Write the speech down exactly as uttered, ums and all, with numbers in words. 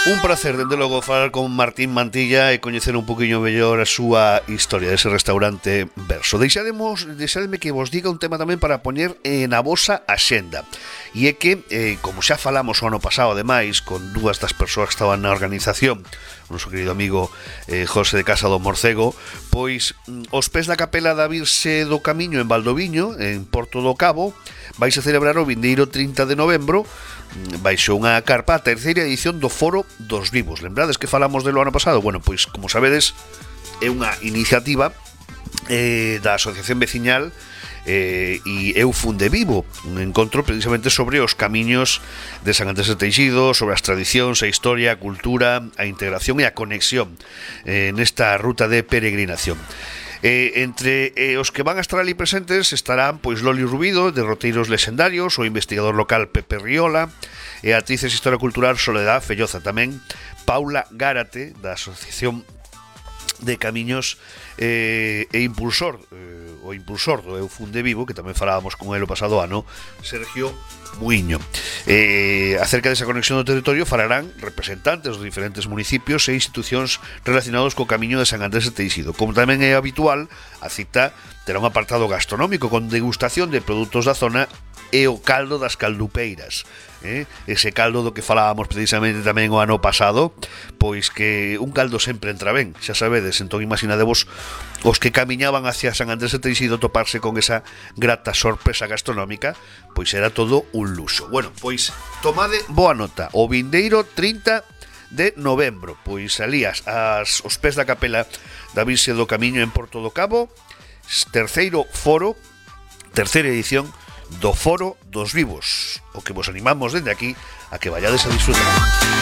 Un placer, dende logo, falar con Martín Mantilla e coñecer un poquinho mellor a súa historia dese restaurante Verso. Deixademos, deixademe que vos diga un tema tamén para poñer eh, na vosa axenda. E é que, eh, como xa falamos o ano pasado, ademais, con dúas das persoas que estaban na organización, o noso querido amigo eh, José de Casa do Morcego, pois os pés da capela da Virxe do Camiño en Valdoviño, en Porto do Cabo, vais a celebrar o vindeiro trinta de novembro baixo unha carpa a terceira edición do Foro dos Vivos. Lembrades que falamos delo ano pasado? Bueno, pois, como sabedes, é unha iniciativa eh, da Asociación Veciñal eh, e Eu Funde Vivo, un encontro precisamente sobre os camiños de San Andrés de Teixido, sobre as tradicións, a historia, a cultura, a integración e a conexión eh, nesta ruta de peregrinación. Eh, entre eh, os que van a estar ali presentes estarán pois Loli Rubido, de Roteiros Lexendarios, o investigador local Pepe Riola, e a actriz e historia cultural Soledad Felloza, tamén Paula Gárate, da Asociación de Camiños eh, e impulsor eh, o impulsor do Eu Funde Vivo, que tamén falábamos con el o pasado ano, Sergio Muiño. Eh, acerca desa conexión do territorio falarán representantes dos diferentes municipios e institucións relacionados co camiño de San Andrés de Teixido. Como tamén é habitual, a cita terá un apartado gastronómico con degustación de produtos da zona e o caldo das caldupeiras. Eh? Ese caldo do que falábamos precisamente tamén o ano pasado, pois que un caldo sempre entra ben, xa sabedes. Entón imaginadevos os que camiñaban hacia San Andrés de Teixido toparse con esa grata sorpresa gastronómica, pois era todo un luxo. Bueno, pois tomade boa nota, o vindeiro trinta de novembro, pois alías as, os pés da capela da Virxe do Camiño en Porto do Cabo, terceiro foro, terceira edición do Foro dos Vivos, o que vos animamos dende aquí a que vayades a disfrutar.